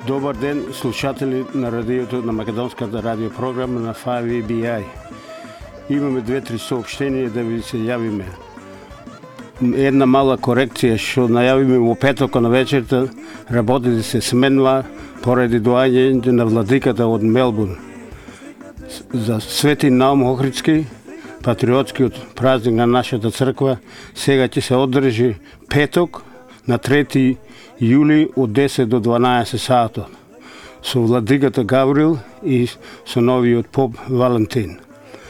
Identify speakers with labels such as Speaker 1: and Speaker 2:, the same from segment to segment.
Speaker 1: Добар ден, слушатели на радиото, на македонската радиопрограма на 5EBI. Имаме 2-3 сообщения да ви се јавиме. Една мала корекција, што најавиме во петок на вечерта, работи да се сменува поради доаѓањето на владиката од Мелбурн. За Свети Наум Охридски, патриотскиот празник на нашата црква, сега ќе се одржи петок на 3 јули од 10 до 12 саатот со владиката Гаврил и со новиот поп Валентин.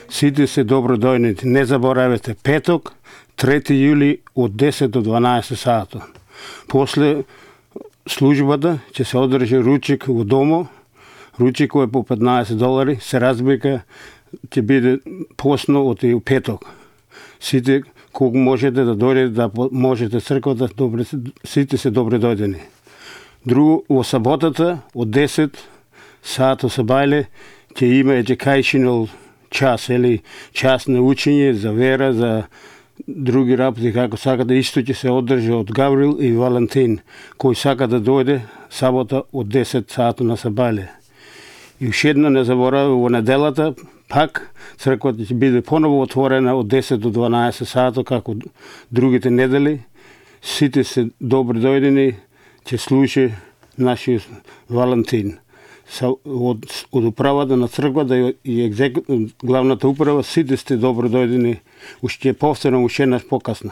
Speaker 1: Сите се добродојни. Не заборавете, петок 3 јули од 10 до 12 саатот. После службата ќе се одржи ручик во домо. Ручикот е по $15, се разбика ќе биде посно од и петок. Сите колку можете да дојдете, да можете црквата, сите се добре дојдени. Друго, во саботата од 10 саато сабајле ќе има educational час или час на учење за вера, за други работи како сакате, исто ќе се одржи од Гаврил и Валентин, кој сака да дојде сабота од 10 саато на сабајле. И уште едно не заборави, во неделата пак црквата ќе биде поново отворена од 10 до 12 саато како другите недели. Сите се добри дојдени, ќе слуши нашиот Валентин. Од управата на црквата и главната управа, сите сте добро дојдени. Уште повторам уште еднаш покасно.